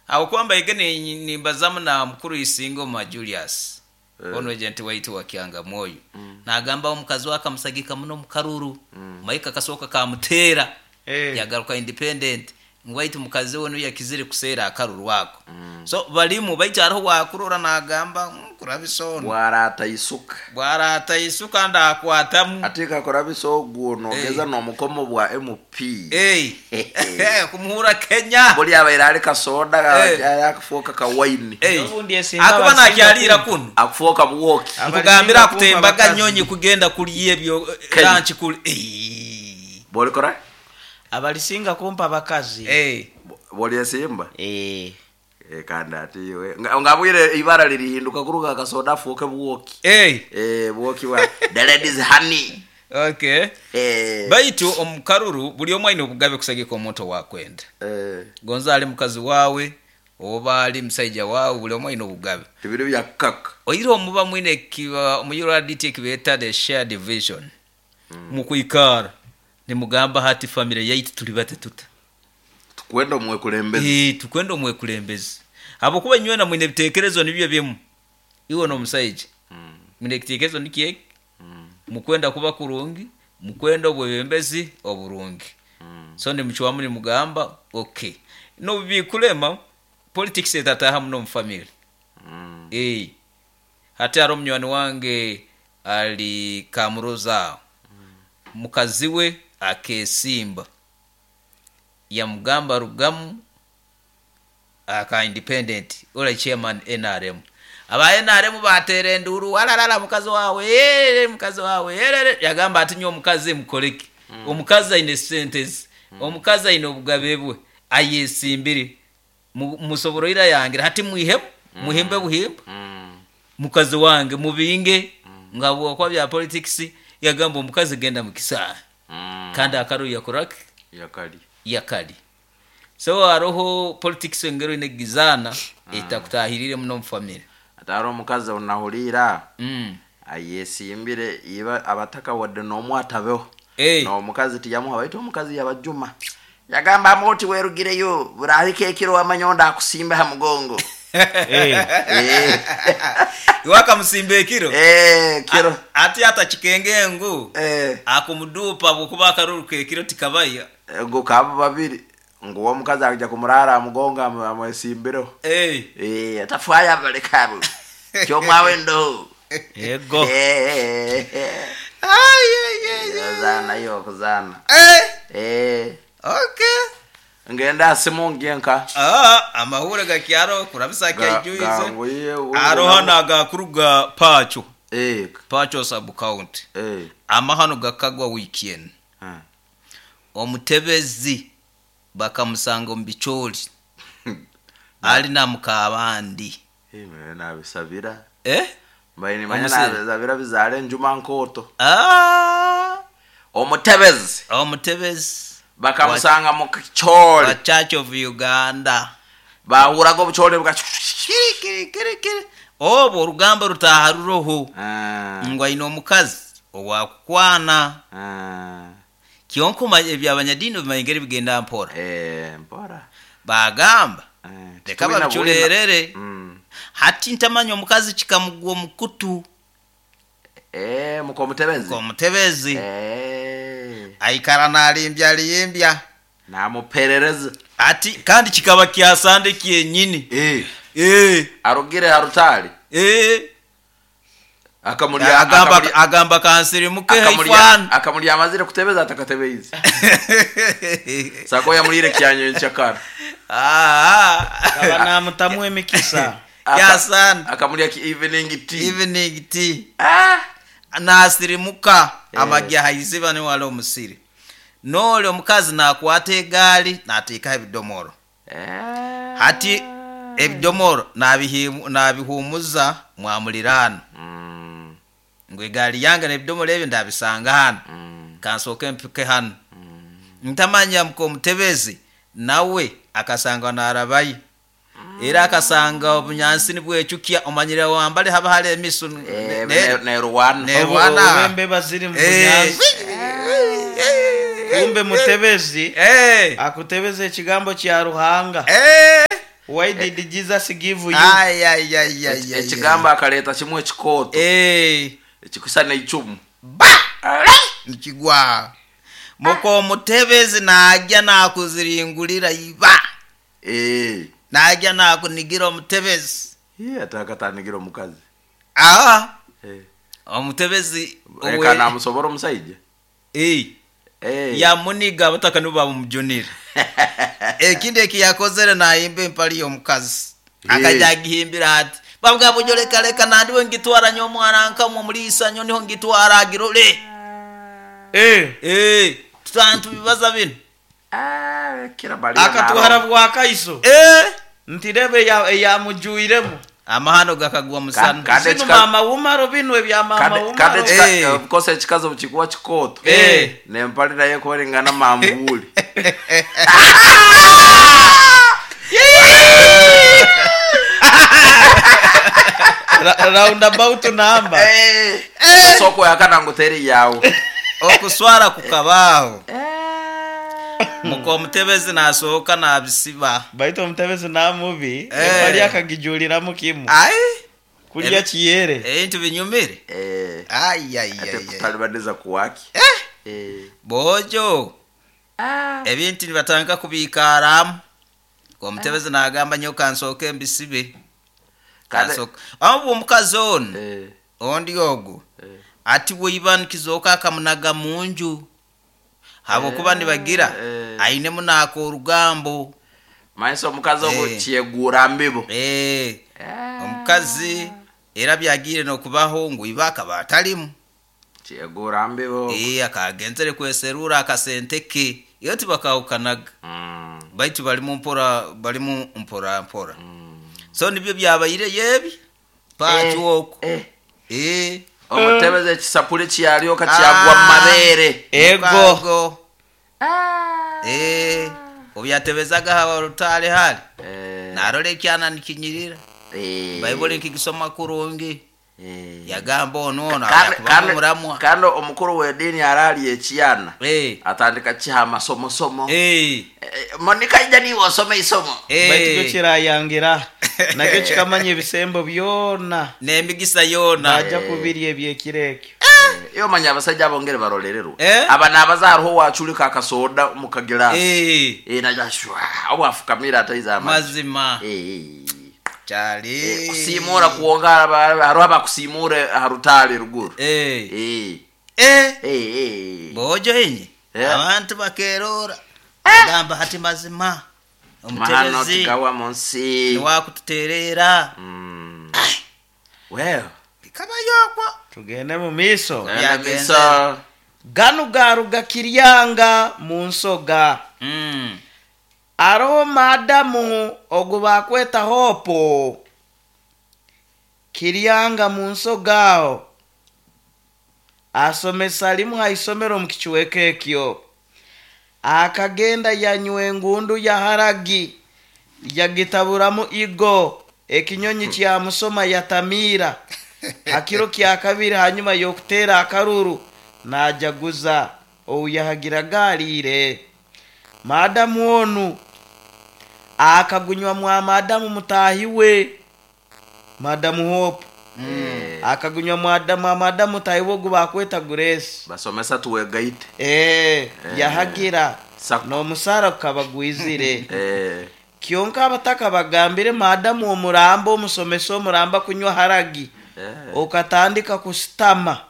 Ahabw'okuba mbaire nimbazamu na mukuru Isingoma Julius, onu agent waitu wa Kyangamwoyo, nagamba omukazi we akamusagika muno omu karuru, Mike akasooka kamuteera yagaruka independent, ngu baitu mukazi we niwe yakizire kuseera akaruru ako. So barimu baitu hariho owakurora nagamba kurabisa onu. Bwaraata isuka. Bwaraata isuka ndakwatamu. Ati kakurabisa ogwo nogeza nomukomo bwa MP. Kumuhura Kenya. Buri abaire ari kasoda akufoka ka wine. Akuba nakyariira kunu. Akufoka bwoki. Nkugambira akutembaga nyonyi kugenda kurya ebyo lunch kuri. Borikora? Abarisinga kumpa abakazi. Boryesimba? Eeh. Kandi ati iwe nga bwire ibara ririhinduka kuruga kasoda afuuke bwoki. Bwoki bwa the ladies honey. Okay. Baitu omu karuru buri omwe aine obugabe kusagika omuntu owakwenda. Gonza ali mukazi wawe oba ali musaija wawe buri omwe aine obugabe. Tibiri bya kukaka. Oihireho muba mwine omu URDT ekibeeta the shared vision. Mukwikara nimugamba hati family yaitu turi bati tuta. Tukwenda omwekulembezi. Tukwenda omwekulembezi. Habwokuba inywena mwine ebitekerezo nibyo bimu. Iwe n'omusaija mwine ekitekerezo nikyo eki, mukwenda kuba kurungi, mukwenda obwebembezi oburungi. So nimucwamu nimugamba okay. N'obu bikulema, politics etataaha muno omu family. Hati hariho munywani wange ari Kamuroza aho, mukazi we akesimba yamugamba rugamu aka independent ori chairman nrm. Aba nrm bateera enduuru wararara mukazi waawe eeh mukazi waawe erere yagamba ati nyowe omukazi mukoreki? Omukazi aine sente ze, omukazi aine obugabe bwe ayesimbire Musoboroire ayangira hati mwihemu, muhimbe buhimba mukazi wange mubinge ngu habwokuba bya politics yagamba omukazi genda mukisaahe kandi akaruru yakoraki? Yakarya. So haroho politics engeri oyine kugizaana etakutahiriire muno omu family. Hati haroho omukazi ou nahuriire ayesimbire iba abatakawadde n'omu atabeho n'omukazi tiyamuha baitu omukazi yabajuma yagamba amu oti werugireyo burahika ekiro wamanya ondi akusimbe ha mugongo. Iwe akamusimba ekiro? Ekiro. Ati atakikenge ngu akumuduupa habwokuba akaruru k'ekiro tikabaya. Ngu kaba babiri ngu uwe omukazi aija kumuraara aha mugongo amwesimbireho. Atafwayo abaleke abo kyomwawe ndoho. Ego. Ozaana iwe okuzaana. Ngende aha simu ngye nka. Amahuure gakyaroho kurabisa akyaijwize. Haroho hanu agakuruga Pacho, Pacho sub county. Amahano gakagwa wiiki enu. Omutebezi bakamusanga omu bicoori ari na mukaabandi. Mbaire nabisabira. Eh? Mbaire nimanya Omusiri. nabisabira bizaare enjuma nkooto. Ah! Omutebezi. Omutebezi. Bakamusanga mu kicoori. Wa Church of Uganda. Baahuraga obucoori bwa Kiri kiri kiri kiri. Obwo orugambo rutaaha ruroho ngu aine omukazi owakukwana. Kyonka omanye eby'abanyadiini obimanya engeri bigenda mpora. Mpora. Baagamba leka Titwina bwina. babicureerere. Hati ntamanya omukazi kikamugwa omu kutu. Muka omutebezi. Muka omutebezi. Aikara narimbyarimbya. Namuperereza. Ati kandi kikaba kya Sande kyenyini. Arugire ha rutaari. Akamurya Agamba akamurya agamba kansirimuke akamurya haifano. akamurya amazire kutebeza atakatebeize. Sako yamurire kyanyo nchakara. Akaba namutamu emikisa. Kya Sande. Akamurya ki evening tea. Evening tea. Ah! Nasirimuka amagye aha iziba niho hali omusiri. N'oli omukazi nakwata egaari nateekaho ebidomoro. Hati ebidomoro nabihuumuza mwamuliraano ngu egaari yange n'ebidomoro ebi ndabisanga hanu, kansooke mpike hanu. Ntamanya muka omutebezi nawe akasangwa narabayo. Era akasanga obunyansi nibwecukya omanyire wambali haba hariho emisu Nerwana. Nerwana. Obu embeba ziri mu bunyansi. Kumbe mutebezi akutebeza ekigambo kya Ruhanga. Why did Jesus give you? Ai, ai, ai, ai, ai, Ekigambo akareeta kimwe ekikooto Eh. ekikusha n'eicumu. Ba! Nikigwa. Muka omutebezi najya nakuziringulira iba. Eh. Najya nakunigira omutebezi. Ye atakatanigira omukazi. Ah. Eh. Omutebezi Reka namusobora omusaija. Eh. Eh. Yamuniga abataka nibo bamujunire. Ekindi eki yakozere nayimba empali y'omukazi. Eh. Akajya agihimbira ati babwa bujo leka leka nandiwe ngitwara nyo omwana nkamwe omulisa nyo niho ngitwara agirole. Eh. Eh, tutantu bibaza bino. Ah, kira bali. Akatwara bwakaiso. Eh, Ntirebe eyamujwiremu. amahano gakagwa musana. Kandi Zino mama wumaro bino ebya mama Kandi wumaro. Eh. of course ekikazi bukikuba kikooto. Eh. Nempali naye kubaringana manvuuli. Roundabout number. Eh. Soko yakana nguteri yawe. Okuswara kukabaaho. Muka omutebezi nasooka nabisiba. Baitu omutebezi namubi Eh. empali akagijuliramu kimu. Ai, Kulya kiyere. ebintu binyumire. Eh. Ai ai Ate ai. ai. kutalibaniza kuwaki. Eh, Eh. bojo. Ebintu nibatandika kubiikaramu. Omutebezi nagamba nyo kansooke mbisibe. Kandi- Kansooke. Aho omukazi ono Eh. ondi ogwo Eh. ati bweiba nikizooka akamunaga munju habwokuba nibagira eh. ainemu naaka orugambo. Maiso omukazi ogwo Eh. kyegura mbibo. Eh, omukazi era byagiire n'okubaho ngu iba akaba atalimu. Kyegura mbibo. Eh, akagenzere kweserura akasente ke iyo tibakahukanaga baitu balimu mpora balimu mpora mpora. So nibyo byabaire yebi pakiwoko. Eh. Eh, Omutebezi ekisapuli kyalyoka kyagwa mu mabeere. Ego. mukago. Eh, obyatebezaga hawa rutale hali Eh. narora ekyana nikinyirira. Eh. Baibuli nkigisoma kurungi. Eh. Yagamba ono ono Kandi- akubamu kandi- muramwa. kandi omukuru w'eddiini araali ekyana Eh, atandika kiha amasomosomo. eh, Eh, Monica ija niiwe osome isomo. Baitu kyo eh. kirayangira. Nakyo kikamanya ebisembo byona. N'emigisa yoona. Najja kubirya ebyekiro ekyo. Iyo omanya abasajja abongere barolererwa. Eh. Aba n'abazaariho waculika akasoda mu kagiraasi. Eh, Eh, naja shwa obwafukamira ataiza amazzi. mazima Eh. kyali. Eh, kusiimuura kwonka hariho abakusiimuura aha rutaale ruguru. Eh, Eh. eh. Eh, eh. Bojo enye Eh. abantu bakerora gamba hati mazima Mahano omutebezi tigawa mu nsi. niwakututereera. Well, Bikabayokwo. Tugende mu miiso. Byagenze. Misa. Ganu garuga kiryanga mu nsoga. Aroho madamu ogu bakweta hopo. Kiryanga mu nsoga aho. Asomesa limu ha isomero mu kichweka ekyo. Akagenda yanywa engundu ya haragi yagitaburamu igo ekinyonyi kyamusoma yatamiira. Hakiro kya kabiri hanyuma y'okuteera akaruru najaguza ouyahagiraga aliire. Madamu onu akagunywa mwa madamu mutahi we madamu Hope. Akagunywa mwa madamu mutahi we ogu bakweta Grace. Basomesa tuwegaite. Eh, yahagira Sako. n'omusaara gukaba gwizire. Eh. Kyonka abataka bagambire madamu omuramba omusomesa omuramba kunywa haragi. Eh. Okatandika kusitama.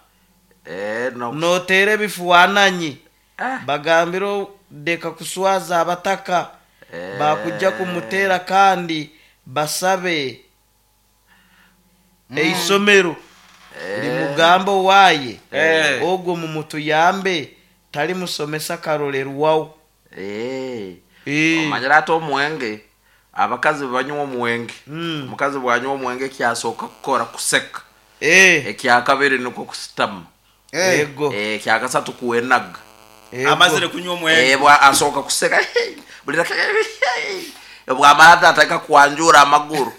Eh, no. Noteera ebifuananyi. Ah. Bagambire deka kuswaza abataka. Eh. Bakujja kumuteera kandi basabe eisomero limugamba owaaye Eh. ogwo mumutuyambe tali musomesa karolerwawo. Eh. Eh. Omanyira ate omwenge abakazi banywa omwenge. Omukazi bwanywa omwenge ekyasooka kukora kuseka. Eh. Ekyakabiri nikwo kusitama. Eh. Ego. Eh, ekyakasatu kuwenaga. Ego. Amazire kunywa omwenge. Eh, bwa asooka kuseka. Bulira bwamala ate atandika kwanjura amaguru.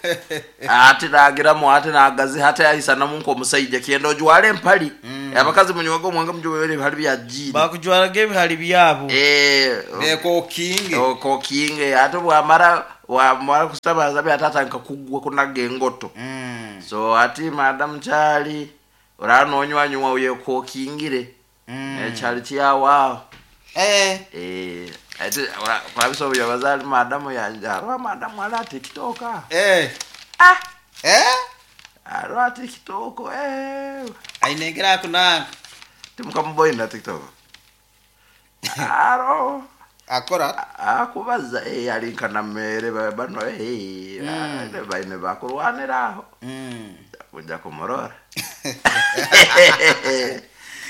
Ate nagiramu ate nagaziha ate ayisanamu nk'omusaija kyenda ojwale empali. Abakazi munywege omwenge mujwale ebihali bya jiini. Bakujwaraga ebihali byabo. Eh, Nekokinge. okokinge ate bwamara Wamara kutabaza byatatandika kugwa kunaga engoto. So hati madamu kyali oraba nonywanywa oyekokingire. Ekyali kyawaho. Eh. Eh, ati kurabisa obuyobozi ali madamu yanje hariho madamu ali aha TikTok aha. Eh. Ah! Eh? Hariho aha TikTok eh. Aine engeri akunanga. Timukamuboine aha TikTok. Hariho Akora. akubaza eh ali nka Nameere bano eh baine bakurwanira aho. Kuja kumurora.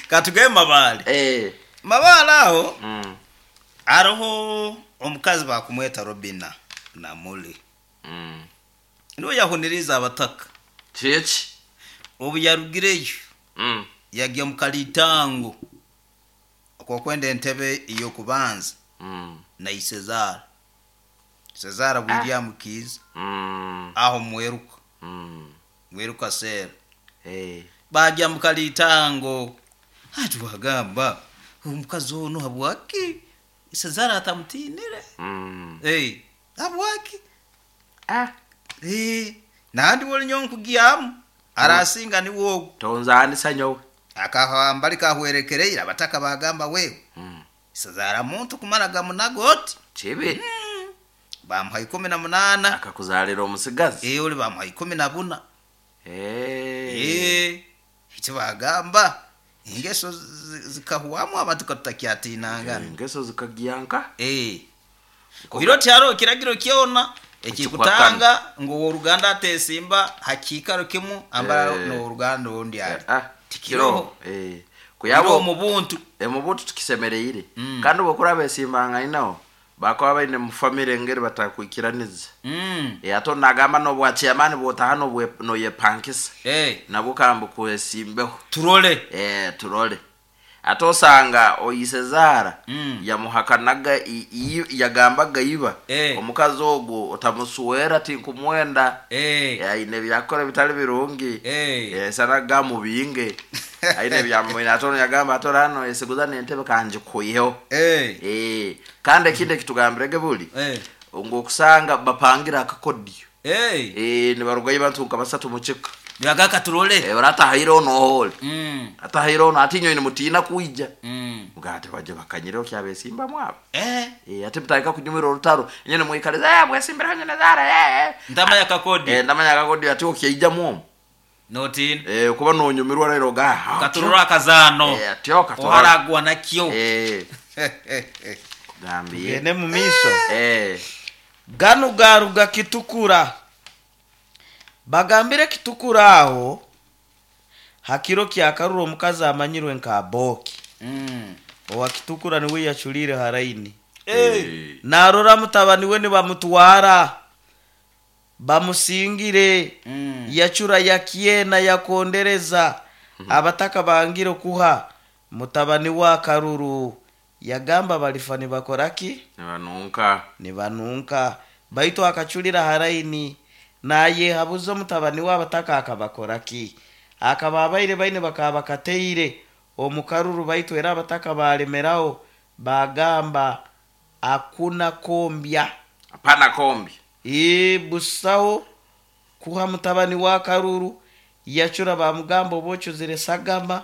Katugende Mabale. Eh. Mabale aho hariho omukazi bakumweta Robina Namuli. Niwe yahuniriza abataka. Kiki? Obu yarugireyo yagya mu kalitango okwokwenda entebe ey'okubanza na Isezara. Sezara William Kiiza aho mweruka. Mweruka Sera. Bagya mu kalitango ati wagamba omukazi onu habwaki Sezara atamutinire? Habwaki? Nandi woli nyowe nkugyamu arasinga niwe ogu. Tonzanisa nyowe. Akahamba likahwerekereire abataka bagamba wewe. Sezara muntu kumara gamunaga oti. Kibi. Bamuha 18. Akakuzalira omusigazi. Ori bamuha 14. Eki bagamba engeso zikahwamu abantu katutakyatinangana. Engeso zikagyanka. Oiro tyaro kiragiro kyona ekikutanga ngu ow'oruganda atesimba hakiikaro kimu ambara n'ow'oruganda ondi ari. Tikiroho. Kiroho Kuyabo omu buntu. Omu buntu tukisemereire. Kandi obwokuraba esimbanganaho bakaba baine mu family engeri batakwikiraniza. Ate nagamba n'obwa chairman bwotaha noyepankisa. Nabwo kamba kwesimbeho. Turole. Turole. Ate osanga oisezara yamuhakanaga yagambaga iba. Omukazi ogwo otamusuwera tinkumwenda. Aine byakora bitali birungi. Sana gamubinge. Aine byamwina atono yagamba atorano esiguza n'entebe kanjikuyeho. Kandi ekindi ekitugambirege buli. Ngokusanga bapangira akakodiyo. Nibarugayo bantu nka basatu mu kika. Nibagaka turole. Oratahire ono hole. Atahire ono ati nyowe nimutina kwija. Mugate baje bakanyireo kyabesimba mwabo. Ati mutandika kunyumira orutaro. Nyene mwikaliza mwesimbira nyene zara. Ndamanya kakodi. Ndamanya kakodi ati okyaija mwomo. Notina. Kuba nonyumirwa rero ga. Katurura akazano. Atyo katurura. Oharagwa nakyo. Gambiye. Tugende mu miso. Ganu garuga kitukura. Bagambire kitukura aho hakiro kyakarura omukazi amanyirwe nka Boki. Owa kitukura niwe yachulire haraini. Narora mutabani we nibamutwara bamusingire. Yachura yakiena yakondereza. Abataka bangire kuha mutabani wa karuru. Yagamba balifa nibakoraki? Nibanunka. Nibanunka. Baitu akachulira haraini. Naye habuzo mutabani w'abataka akabakoraki? Akaba abaire baine bakaba bakateire omukaruru baitu era abataka balemeraho bagamba akuna kombya. Hapana kombi. Busaho kuha mutabani wa karuru yachura bamugamba obochuzire sagama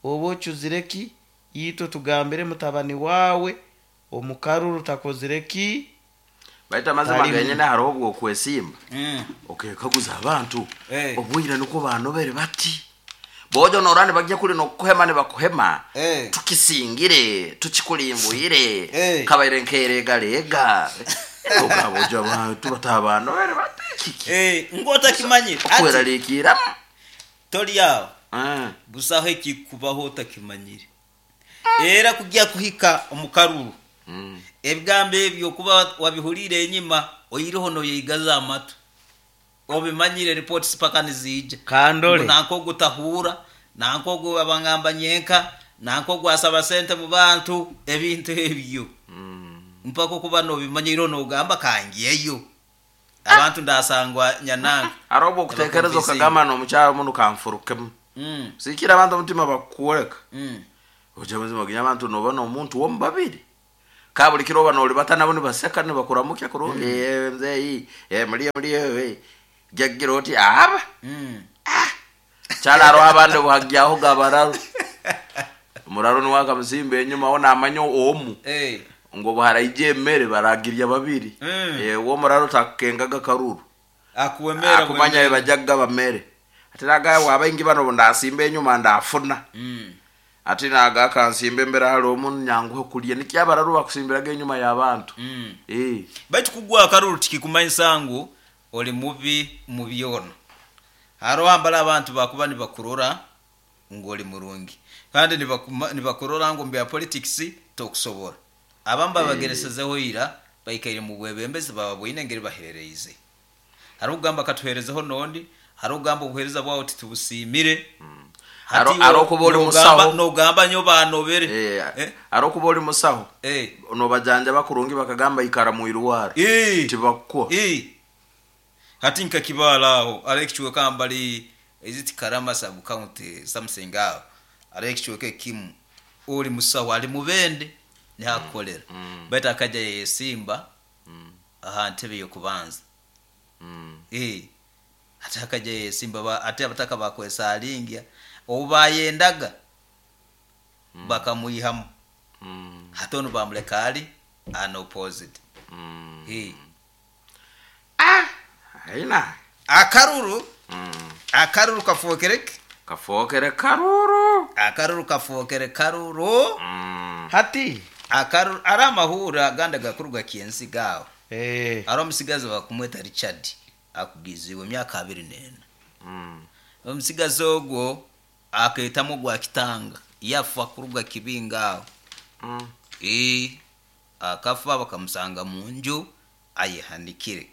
obochuzire ki yitwe tugambire mutabani wawe omukaruru takozire ki. Baita amazima genyene hariho obwo kwesimba. Okekaguza abantu. Obwire nuko banobere bati. Bojo norani bajya kuri no kuhema ne bakuhema. Tukisingire, tukikulimbuire. Kabaire nkerega lega. Ogabojo abantu batabanobere bati kiki. Ngota kimanyire. Okwerarikira. Tori yawo. Busaho ekikubaho otakimanyire. Era kujya kuhika omukaruru. Ebigambo ebyo kuba wabihurire enyima oyireho noyegaza amatu. Obimanyire reports paka nizija. Kandole. Nanko gutahura, nanko abangamba nyenka, nanko gwasaba sente mu bantu ebintu ebyo. Mpaka kuba nobimanyire nogamba kangiyeyo. Abantu ndasangwa nyananga. Arobo kutekereza okagamba no mucyaro mundu kamfurukemo. Sikira abantu omutima bakuworeka. Oje muzima ginya abantu nobona omuntu wo mubabiri. Ka buli kiro oba noolibata nabo nibaseka nibakuramukya kurungi, "Eh, mzeeyi, eh, muriyo muriyo, eh." Jagira oti aba kyali hariho abandi buhagyaho gabararo omuraro niwe akamusimba enyuma we namanya omu ngu obuharaija emere baragirya babiri. Eh, we omuraro takukengaga karuru akuwemera akumanya bajja kugaba mere, ati nagaya bwabaingi bano ndasimba enyuma ndafuna, ati naga akansimba embere hali omu nyanguhe kulya, nikyo abararo bakusimbiraga enyuma y'abantu. Eh. Baitu kugwa akaruru tikikumanyisa ngu oli mubi mu byona. Hariho hambara abantu bakuba nibakurora ngu oli murungi, kandi nibakurora ngu omu bya politics tokusobora. Abamu babageresezeho ira baikaire mu bwebembezi bababoine engeri baheereize. Hariho kugamba katuheerezeho nondi, hariho kugamba obuheereza bwawe titubusiimire. Hati Hariho kuba oli musaho. Nogamba nyo banobere. Eh, Eh? hariho kuba oli musaho Eh. nobajanjaba kurungi bakagamba ikara mwirwaro tibakukuha. Eh. Hati nkakibala aho ari ekichweka mbali, is it Karama sub county something, aho ari ekichweka ekimu oli musaho ali mubende nihakukolera, baitu akajja yesimba aha ntebe y'okubanza. Eh, ate akajja yesimba ate abataka bakwesalingia obu bayendaga bakamwihamu. Hati onu bamuleka ali an opposite. Eh. Aina Akaruru, akaruru kafokereke. Kafokere karuru. Akaruru kafokere karuru. Hati Akaruru ari amahura agandi gakuru gakiensi gawo. Eh, ari omusigazi bakumweta Richard akugiziwe emyaka 24. Omusigazi ogwo aketamu gwa kitanga yafa kuruga kibinga aho. Eh, akafa bakamusanga mu nju ayehanikire,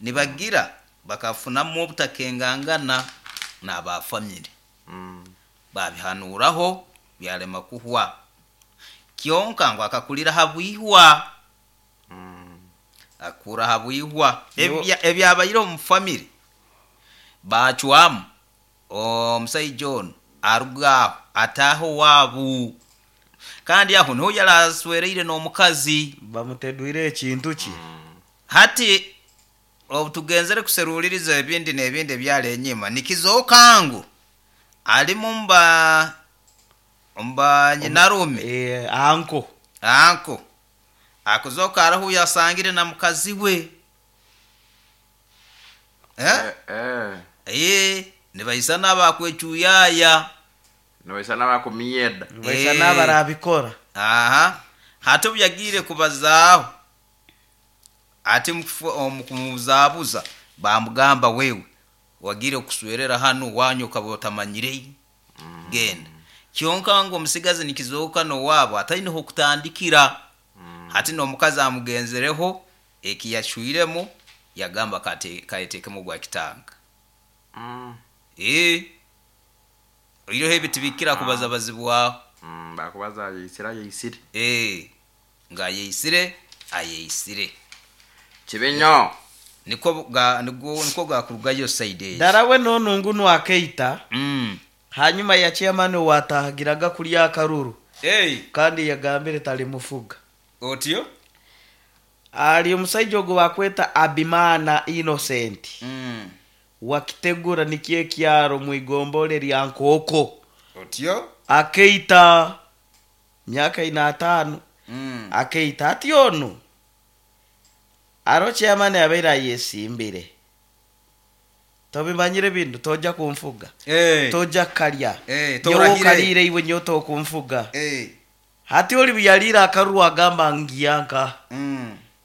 nibagira bakafunamu obutakengangana n'abafamire. Babihanuraho byarema kuhwa, kyonka ngu akakurira habwihwa, akura habwihwa. Ebyabaire omu famire bacwamu omusaija onu aruga aho ataaho waabu, kandi aho niho yaraswereire n'omukazi. Bamutedwire ekintu ki? Hati obu tugenzere kuseruliriza ebindi n'ebindi ebyali enyima, nikizooka ngu alimu mba nyinarume. Eh, anko. Anko akuzoka arahu yasangire na mukazi we, eh? Eh, Eh, nibaisana bakwecuyaya. nibaisana bakumyeda. Baisa Eh. n'abarabikora. Aha, hati obu yagiire kubazaaho, ati omu kumubuzabuza bamugamba, wewe wagiire kuswerera hanu wanyu okaba otamanyire, genda. Kyonka ngu omusigazi nikizooka n'owaabo ataineho okutandikira. Hati n'omukazi amugenzereho ekiyacwiremu yagamba kayeteekemu ogwa kitanga. Eh, oireho ebiti bikira kubaza bazibwaho. Bakubaza ayeisire ayeisire. Eh, nga ayeisire ayeisire. Kibi nnyo. Niko gakurugayo side eyo. Darawe nonu ngunu akeita. Hanyuma ya chairman watahagiraga kulya akaruru. Hey. Kandi yagambire talimufuga. Otyo? Ali omusaija ogwo bakweta Abimana Innocent. Wakitegura nikiye kyaro mwigombole lya Nkoko. Otyo? Akeita myaka 45. Akeita ati ono aro chairman yabaire ayesimbire, tobimanyire bintu toja kunfuga. Hey. Toja kalya. Hey, nyowe torahire. okalire iwe nyowe tokunfuga. Hey. Hati oli buyalire akaruru agamba ngiyanka.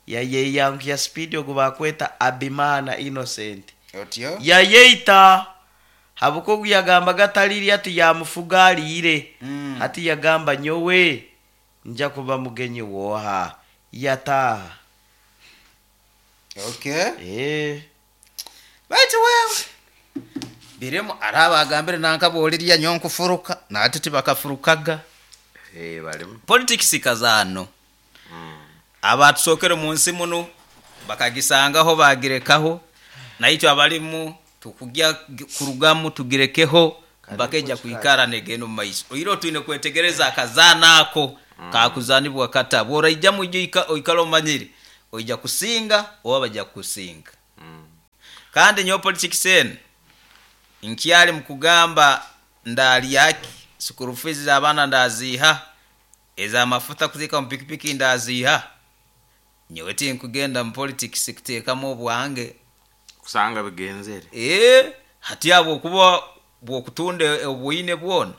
Yayeyankuya speed ogwo bakweta Abimana Innocent. Otyo? Yayeita habuko ogu yagambaga atalirya ati yamufuga aliire. Hati yagamba nyowe nja kuba mugenyi woha yataaha. Okay. Eh. Baitu wewe birimu araba agambire nanka bolirya nyonkufuruka nati tibakafurukaga. Eh, balimu. Politics kazano. Abatusokere mu nsi muno bakagisangaho bagirekaho, naitwe abalimu tukujya kurugamu tugirekeho bakeja kuikara negeno mu maiso. Oiro twine kwetegereza akazana ako. Kaakuzanibwa kata? Bw'oraijamu oije oikale omanyire oija kusinga oba baija kukusinga. Kandi nyowe politikisi enu nkyali mu kugamba ndaalya ki, sukuru fiizi z'abaana ndaaziiha, ez'amafuta kuteeka mu pikipiki ndaaziiha? Nyowe tinkugenda mu politikisi kuteekamu obwange. Kusanga bigenzere. Ee, hati ahabw'okuba bw'okutunda obu oine bwona,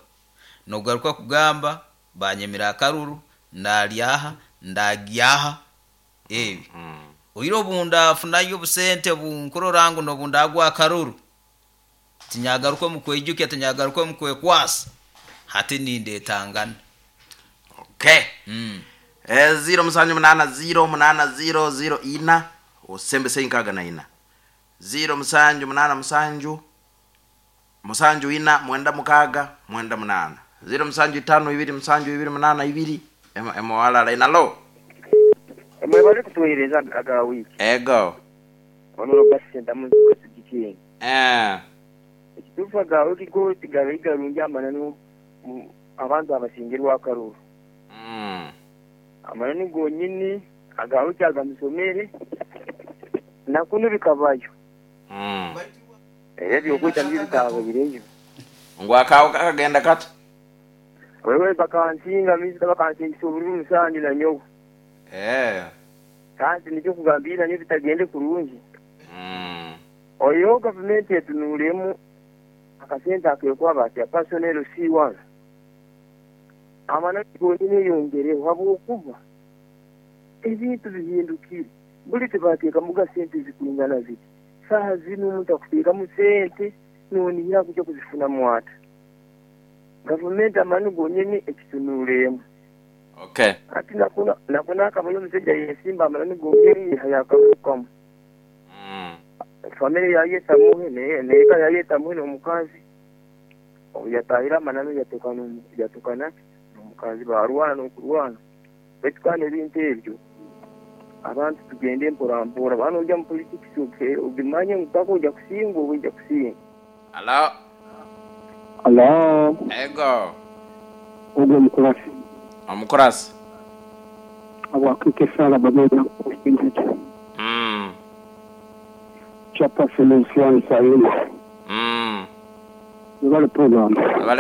nogaruka kugamba banyemire akaruru, ndaalya aha, ndaagya aha, ebi. Oire obu ndaafunayo obusente obu nkurora ngu n'obu ndaagwa akaruru, tinyagaruka omu kweijukya, tinyagaruka omu kwekwasa, hati nindetangana. Okay. Ziro musanju munaana ziro munaana ziro ziro ina osembese nkaaga na ina. Ziro musanju munaana musanju musanju ina mwenda mukaaga mwenda munaana. Ziro musanju itaano ibiri musanju ibiri munaana ibiri emo emo alala ina. Alo. Mwebale kutuweereza aga wiiki. Ego. Ono Robert Ssentamu Nsubuga Sujikini. Eeh. Ekituufu aga wiiki go tigabaire garungi amananu abantu abasingirwe akaruru. Amananu gonyini aga wiiki aga musomere na kunu bikabayo. Era eby'okwita nibyo bitaabaireyo. Ngu akaawe kakagenda kata? Wewe bakansinga minisita bakansingisa obururu musanju na nyowe. Eeh. Kandi nikyo kugamba ira nyowe bitagende kurungi. Oihireho gavumenti etunuuremu akasente akekuha batya personnel C1 amananu gonyini eyongereho habwokuba ebintu bihindukire buri tibateekamuga sente ezikwingana ziti. Saaha zinu omuntu akuteekamu sente nonihira kuja kuzifunamu ata? Gavumenti amananu gonyini ekitunuuremu. Okay. Hati nakunu nakunu akabayo omusaija ayesimba amananu gonyini yaihayo akarurukamu. Famire yayetamuhe n'eka yayetamuhe n'omukazi. Obu yatahire amananu yatuka yatuka naki n'omukazi barwana n'okurwana. Baitu kandi ebintu ebyo abantu tugende mpora mpora. Waaba noija omu politikisi ogimanye ngu paka oija kusingwa oba oija kusinga. Halo. Halo. Ego. Ogwo omukurasi. Omukurasi. Habwakwiika esaala babeera osinzire. Chairperson of Swan Sayuma. Webale program. Webale.